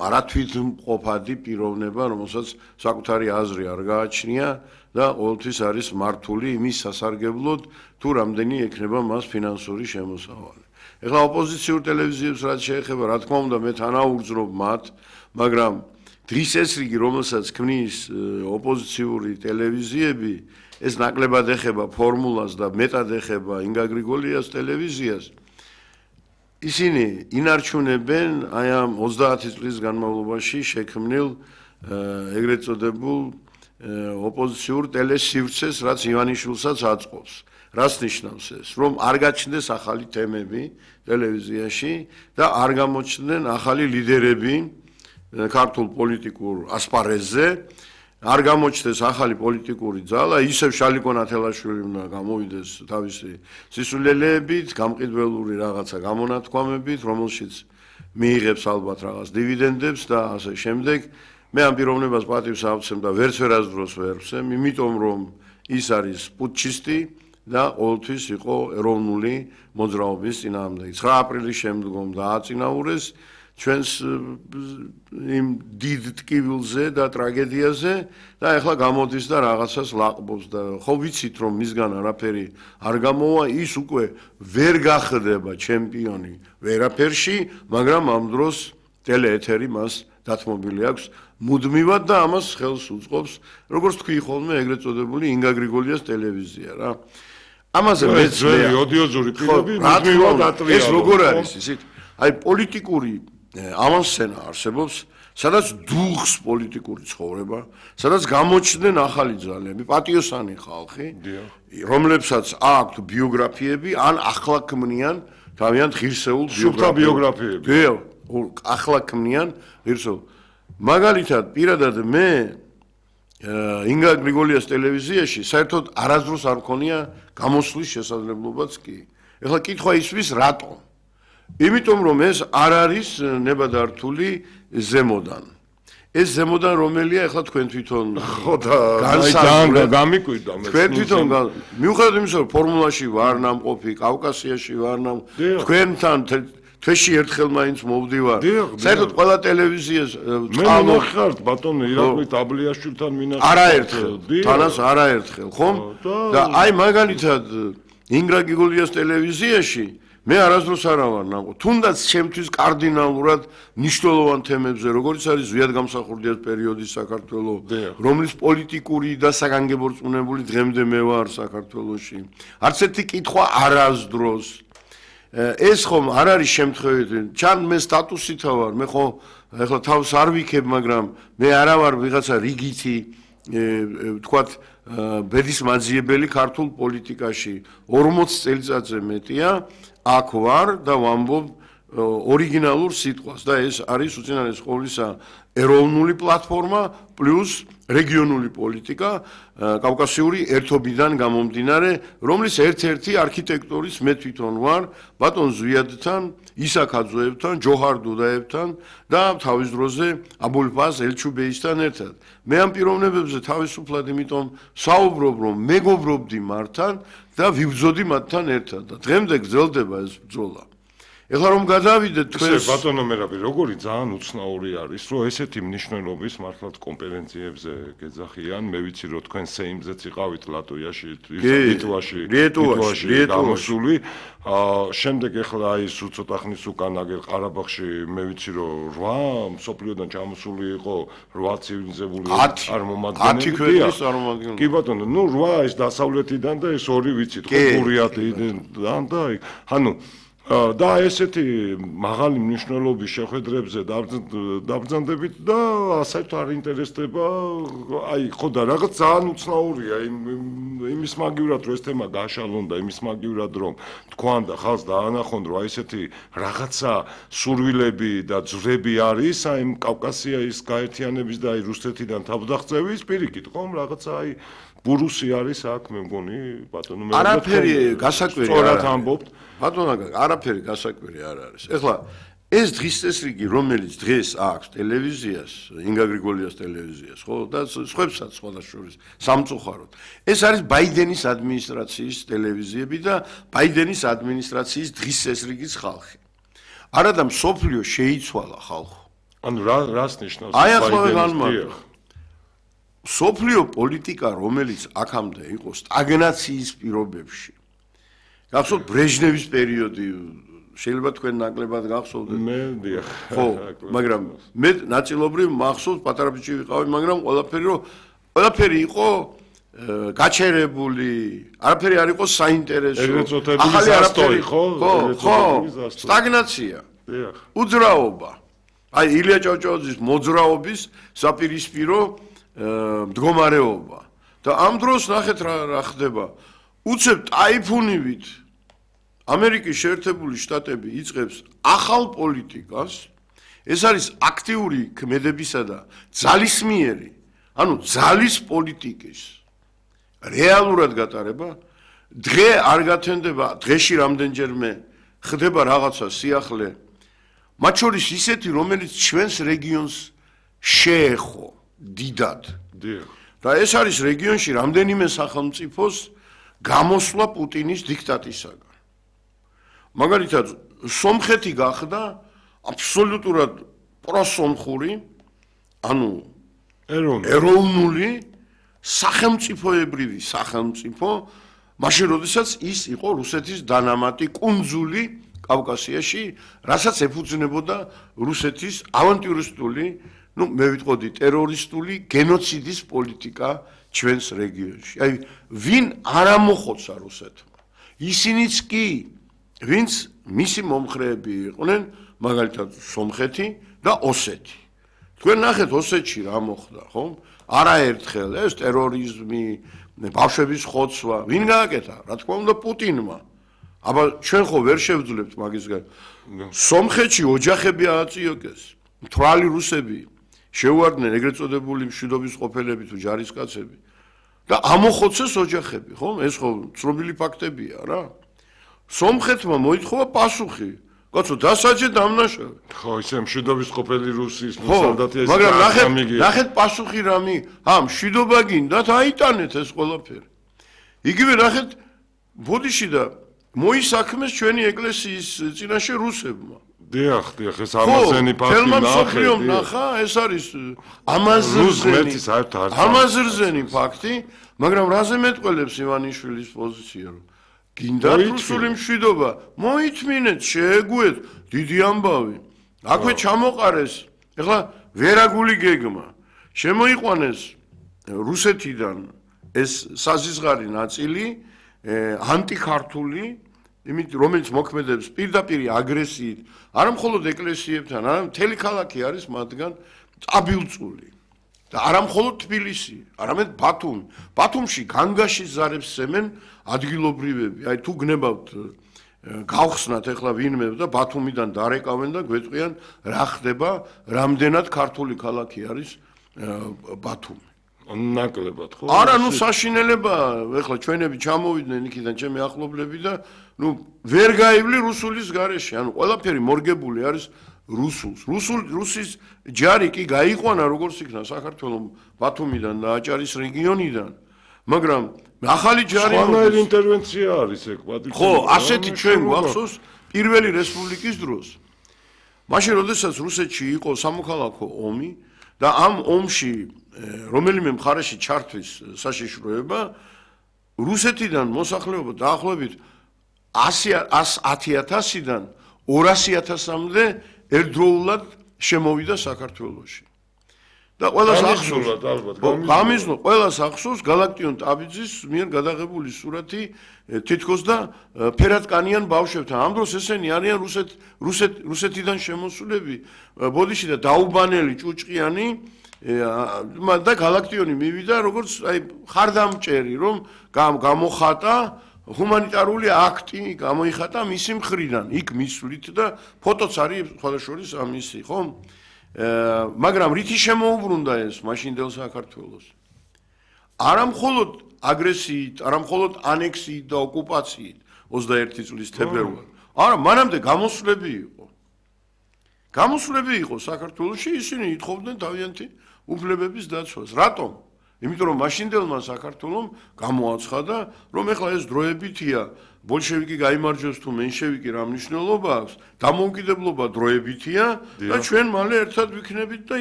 არათვითმყოფადი პიროვნება, რომელსაც საკუთარი აზრი არ გააჩნია და ყოველთვის არის მართული იმის სასარგებლოდ, თუ რამდენი ექნება მას ფინანსური შემოსავალი. ეხლა ოპოზიციურ ტელევიზიებს რაც შეეხება, რა თქმა უნდა, მე თანაუგრძნობ მათ, მაგრამ დღის ეს რიგი, რომელსაც ქმნის ოპოზიციური ტელევიზიები, ეს ნაკლებად ეხება ფორმულას და მეტად ეხება ინგა გრიგოლიას ტელევიზიას. ისინი ინარჩუნებენ აი ამ 30 წლის განმავლობაში შექმნილ ეგრეთ წოდებულ ოპოზიციურ ტელესივრცეს, რაც ივანიშვილსაც აწყობს. რას ნიშნავს ეს? რომ არ გაჩნდეს ახალი თემები ტელევიზიაში და არ გამოჩნდნენ ახალი ლიდერები ქართულ პოლიტიკურ ასპარეზზე, არ გამოჩნდეს ახალი პოლიტიკური ძალა, ისევ შალიკო ნათელაშვილი უნდა გამოვიდეს თავისი სისულელეებით, გამყიდველური რაღაცა გამონათქვამებით, რომელშიც მიიღებს ალბათ რაღაც დივიდენდებს და ასე შემდეგ. მე ამ პიროვნებას პატივს ავცემ და ვერასდროს ვერ ვცემ, იმიტომ რომ ის არის პუტჩისტი და ყოველთვის იყო ეროვნული მოძრაობის წინააღმდეგი. 9 აპრილის შემდგომ დააწინაურეს ჩვენს იმ დიდ ტკივილზე და ტრაგედიაზე და ეხლა გამოდის და რაღაცას ლაყბობს და ხო ვიცით რომ მისგან არაფერი არ გამოვა, ის უკვე ვერ გახდება ჩემპიონი ვერაფერში, მაგრამ ამ დროს ტელეეთერი მას დათმობილი აქვს მუდმივად და ამას ხელს უწყობს, როგორც თქვი ხოლმე ეგრეთ წოდებული ინგა გრიგოლიას ტელევიზია რა. ამაზე მეც ოდიოზური პირები მუდმივად ატვია. ეს როგორ არის ისეთ? აი პოლიტიკური ავანსცენა არსებობს, სადაც დუღს პოლიტიკური ცხოვრება, სადაც გამოჩნდნენ ახალი ძალები, პატიოსანი ხალხი, რომლებსაც აქვთ ბიოგრაფიები, ან ახლა ქმნიან თავიანთ ღირსეულ ბიოგრაფიები. ახლა ქმნიან ღირსეულ. მაგალითად, პირადად მე ინგა გრიგოლიას ტელევიზიაში საერთოდ არასდროს არ მქონია გამოსვლის შესაძლებლობაც კი. ეხლა კითხვა ისვის რატომ? იმიტომ რომ ეს არ არის ნებადართული ზემოდან. ეს ზემოდან რომელია ეხლა თქვენ თვითონ გამიკვირდა მე. თქვენ თვითონ მიუხედავად იმისა რომ ფორმულაში ვარ ნამყოფი, კავკასიაში ვარ თქვენთან თვეში ერთხელ მაინც მოვდივარ. საერთოდ ყველა ტელევიზიას მე მინახავთ ბატონო ირაკლი ტაბლიაშვილთან მინახავთ. არაერთხელ, თანას არაერთხელ, ხომ? და აი მაგალითად ინგა გრიგოლიას ტელევიზიაში მე არასდროს არა ვარ ნამყოფი. თუნდაც ჩემთვის კარდინალურად მნიშვნელოვან თემებზე, როგორც არის ზვიად გამსახურდიას პერიოდის საქართველოს, რომლის პოლიტიკური და საგანგებორწმუნებული დღემდე მე ვარ საქართველოში. არც ერთი კითხვა არასდროს ეს ხომ არ არის შემთხვევით, ჩან მე სტატუსითა ვარ, მე ხო ეხლა თავს არ ვიქებ, მაგრამ მე არა ვარ ვიღაცა რიგითი თქვათ ბედის მაძიებელი ქართულ პოლიტიკაში 40 წელიწადზე მეტია აქ ვარ და ვამბობ ორიგინალურ სიტყვას და ეს არის უწინარეს ყოვლისა ეროვნული პლატფორმა პლუს რეგიონული პოლიტიკა კავკასიური ერთობიდან გამომდინარე, რომლის ერთ-ერთი არქიტექტორის მე თვითონ ვარ ბატონ ზვიადთან, ისაკ აძოევთან, ჯოჰარ დუდაევთან და თავის დროზე აბულფაზ ელჩუბეისთან ერთად. მე ამ პიროვნებებზე თავისუფლად იმიტომ საუბრობ, რომ მეგობრობდი მართან და ვიბრძოდი მათთან ერთად და დღემდე გრძელდება ეს ბრძოლა. ეხლა რომ გადავიდეთ თქვენ ბატონო მერაბი, როგორი ძალიან უცნაური არის, რომ ესეთი მნიშვნელობის მართლაც კონფერენციებზე გეძახიან, მე ვიცი რომ თქვენ სეიმზეც იყავით ლატვიაში, ლიტვაში გამოსული, შემდეგ ეხლა აი სულ ცოტა ხნის უკან აგერ ყარაბაღში მე ვიცი რომ 8 მსოფლიოდან ჩამოსული იყო 8 ცივილიზებული წარმომადგენელი. კი ბატონო, ნუ 8 ეს დასავლეთიდან და ეს 2 ვიცით, ხო გურიატიდან და ანუ და ესეთი მაღალი მნიშვნელობის შეხვედრებზე დაბრძანდებით და ასეთ არ ინტერესდება, აი ხო და რაღაც ძალიან უცნაურია იმის მაგივრად რომ ეს თემა გაშალონ და იმის მაგივრად რომ თქვან და ხალხს დაანახონ რომ აი ესეთი რაღაცა სურვილები და ძვრები არის აი კავკასიის გაერთიანების და აი რუსეთიდან თავდაღწევის პირიქით ხომ რაღაცა აი ბურუსი არის აქ მე მგონი ბატონო მე არაფერი გასაკვირი სწორად ამბობთ ბატონო არაფერი გასაკვირი არ არის. ეხლა ეს დღის წესრიგი რომელიც დღეს აქვს ტელევიზიას, ინგა გრიგოლიას ტელევიზიას, ხო და სხვებსაც სხვადასხვა სამწუხაროდ. ეს არის ბაიდენის ადმინისტრაციის ტელევიზიები და ბაიდენის ადმინისტრაციის დღის წესრიგის ხალხი. არადა მსოფლიო შეიცვალა ხალხო. ანუ რას ნიშნავს აი ახლა განმარტო. სოფლიო პოლიტიკა, რომელიც აქამდე იყო სტაგნაციის პირობებში. გახსოვთ ბრეჟნევის პერიოდი, შეიძლება თქვენ ნაკლებად გახსოვდეთ. მე დიახ. ხო, მაგრამ მე ნაწილობრივ მახსოვს, პატარა ბიჭი ვიყავი, მაგრამ ყველაფერი იყო გაჩერებული, არაფერი არ იყო საინტერესო. ახალი არაფერი ხო? ხო, სტაგნაცია. დიახ. უძრაობა. აი ილია ჭავჭავაძის მოძრაობის საპირისპირო მდგომარეობა. და ამ დროს ნახეთ რა ხდება. უცებ ტაიფუნივით ამერიკის შეერთებული შტატები იწყებს ახალ პოლიტიკას. ეს არის აქტიური ქმედებისა და ძალისმიერი, ანუ ძალის პოლიტიკის რეალურად გატარება. დღე არ გათენდება, დღეში რამდენჯერმე ხდება რაღაცა სიახლე. მათ შორის ისეთი, რომელიც ჩვენს რეგიონს შეეხო დიდად. დიახ. და ეს არის რეგიონში რამდენიმე სახელმწიფოს გამოსვლა პუტინის დიქტატისაგან. მაგალითად, სომხეთი გახდა აბსოლუტურად პროსომხური, ანუ ეროვნული სახელმწიფოებრივი სახელმწიფო, მაშინ როდესაც ის იყო რუსეთის დანამატი კუნძული კავკასიაში, რასაც ეფუძნებოდა რუსეთის ავანტიურისტული, მე ვიტყოდი ტერორისტული გენოციდის პოლიტიკა ჩვენს რეგიონში. აი, ვინ არ ამოხოცა რუსეთმა? ისინიც კი, ვინც მისი მომხრეები იყვნენ, მაგალითად სომხეთი და ოსეთი. თქვენ ნახეთ ოსეთში რა მოხდა, ხო? არაერთხელ ეს ტერორიზმი, ბავშვების ხოცვა, ვინ გააკეთა? რა თქმა უნდა პუტინმა. აბა ჩვენ ხო ვერ შევძლებთ მაგის გარდა. სომხეთში ოჯახები ააწიოკეს, მთვრალი რუსები შეუარდნენ ეგრეთ წოდებული მშვიდობის ყოფილები თუ ჯარისკაცები და ამოხოცეს ოჯახები, ხო? ეს ხო ცნობილი ფაქტებია რა. სომხეთმა მოითხოვა პასუხი. კაცო, დასაჯე დამნაშავე. ხო, ისე მშვიდობის ყოფილი რუსის სალდათი ეს. მაგრამ ნახეთ პასუხი რამე. მშვიდობა გინდათ, აიტანეთ ეს ყველაფერი. იგივე ნახეთ ბოდიში და მოისაქმეს ჩვენი ეკლესიის წინაშე რუსებმა. დიახ, ეს ამაზენი ფაქტი ნახა, ეს არის ამაზრზენი ფაქტი, მაგრამ რაზე მეტყველებს ივანიშვილის პოზიცია, რომ გინდათ რუსული მშვიდობა, მოითმინეთ, შეეგუეთ, დიდი ამბავი. აქვე ჩამოყარეს, ეხლა ვერაგული გეგმა. შემოიყვანეს რუსეთიდან ეს საზისღარი ნაწილი, ანტიქართული, რომელიც მოქმედებს პირდაპირ აგრესიით, არა მხოლოდ ეკლესიებთან, არამედ მთელი ქალაქი არის მათგან წაბილწული. და არა მხოლოდ თბილისი, არამედ ბათუმი. ბათუმში განგაშის ზარებს სემენ ადგილობრივები. აი თუ გნებავთ გავხსნათ ეხლა ვინმე და ბათუმიდან დარეკავენ და გვეტყვიან რა ხდება, რამდენად ქართული ქალაქი არის ბათუმი. ნაკლებად ხო? არა, საშინელება, ეხლა ჩვენები ჩამოვიდნენ იქიდან ჩემი ახლობლები და ვერ გაივლი რუსულის გარეშე, ყველაფერი მორგებული არის რუსულს. რუსის ჯარი კი გაიყვანა როგორც იქნა საქართველოს ბათუმიდან და აჭარის რეგიონიდან, მაგრამ ახალი ჯარი სხვანაირი ინტერვენცია არის ეგ პატრიკი. ხო, ასეთი ჩვენ გვახსოვს პირველი რესპუბლიკის დროს. მაშინ როდესაც რუსეთში იყო სამოქალაქო ომი და ამ ომში რომელიმე მხარეში ჩართვის საშიშროება, რუსეთიდან მოსახლეობა დაახლოებით 110,000-დან 200,000-მდე ერთდროულად შემოვიდა საქართველოში. და ყველას ახსოვს გალაქტიონ ტაბიძის მიერ გადაღებული სურათი თითქოს და ფერატკანიან ბავშვებთან. ამ დროს ესენი არიან რუსეთიდან შემოსულები, ბოდიში და დაუბანელი ჭუჭყიანი და გალაქტიონი მივიდა როგორც აი ხარდამჭერი, რომ გამოხატა ჰუმანიტარული აქტი, გამოიხატა მისი მხრიდან, იქ მისვლით და ფოტოც არის სხვადასხვა ამისი, ხო? მაგრამ რითი შემოუბრუნდა ეს მაშინდელ საქართველოს? არა მხოლოდ აგრესიით, არა მხოლოდ ანექსიით და ოკუპაციით 21 წლის თებერვალში. არა, მანამდე გამოსვლები იყო. გამოსვლები იყო საქართველოში, ისინი ითხოვდნენ თავიანთი უფლებების დაცვას. რატომ? იმიტომ რომ მაშინდელმა საქართველომ გამოაცხადა, რომ ეხლა ეს დროებითია, ბოლშევიკი გაიმარჯვოს თუ მენშევიკი რა მნიშვნელობა აქვს, დამოუკიდებლობა დროებითია და ჩვენ მალე ერთად ვიქნებით და